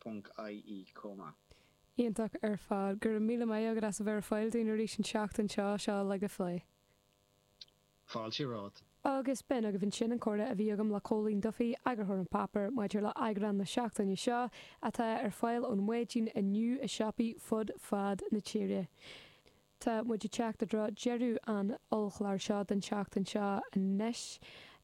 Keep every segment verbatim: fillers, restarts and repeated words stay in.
ponc ie chomh maith. Iontach ar fad. Go raibh míle maith agat as a bheith ar fáil dúinn arís an tseachtain seo seo le go phlé. Fáilte romhat. Agus b'in agaibh ansin an comhrá a bhí agam le Cóilín Duffy, eagarthóir An Páipéar, maidir le eagrán na seachtaine seo, atá ar fáil ón maidin inniu i siopaí fud fad na tíre. Tá muid ag teacht i dtreo deireadh an ollchláir seo don tseachtain seo anois.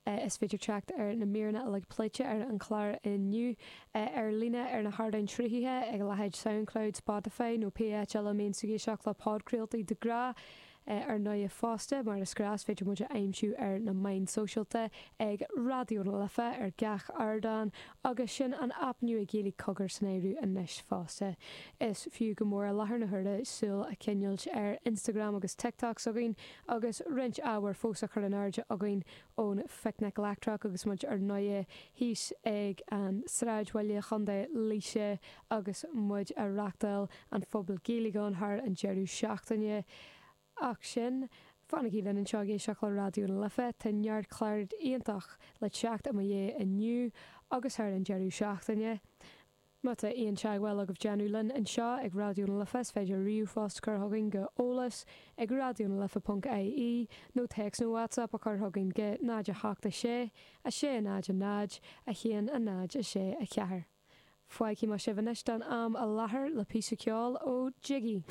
Is féidir teacht ar na míreanna uilig pléite ar an chlár inniu ar líne ar na hardáin sruthaithe ag a leithéid Soundcloud, Spotify nó pé áit eile a mbíonn tú ag éisteacht le podchraoltaí de ghnáth. Ar ndóigh fosta, mar is gnách, is féidir muid a aimsiú ar na meáin sóisialta ag Raidió na Life ar gach ardán agus sin an aip nua Gaeilge Cogar san áireamh anois fosta. Is fiú go mór i láthair na huaire súil a choinneáil ar Instagram agus TikTok s'againn agus roinnt ábhair fós á chur in airde againn ón Phicnic Leictreach agus muid ar ndóigh thíos ag an Sráidbhaile, Chontae Laoise agus muid a reachtáil an Phuball Gaeilge ann thar an deireadh seachtaine. Ach sin, fanaigí linn anseo ag éisteacht le Raidió na Life, tá neart clár iontach le teacht i mo dhiaidh inniu agus thar an deireadh seachtaine. Má tá aon teagmháil agaibh déanamh linn anseo ag Raidió na Life is féidir ríomhphost a chur chugainn go eolas ag raidionalife ponc ie nó téacs nó WhatsApp a chur chugainn go náid a hocht a sé, a sé náid a náid, a haon a náid a sé a ceathair. Fágfaidh mé sibh anois don am i láthair le píosa ceoil ó Jiggy.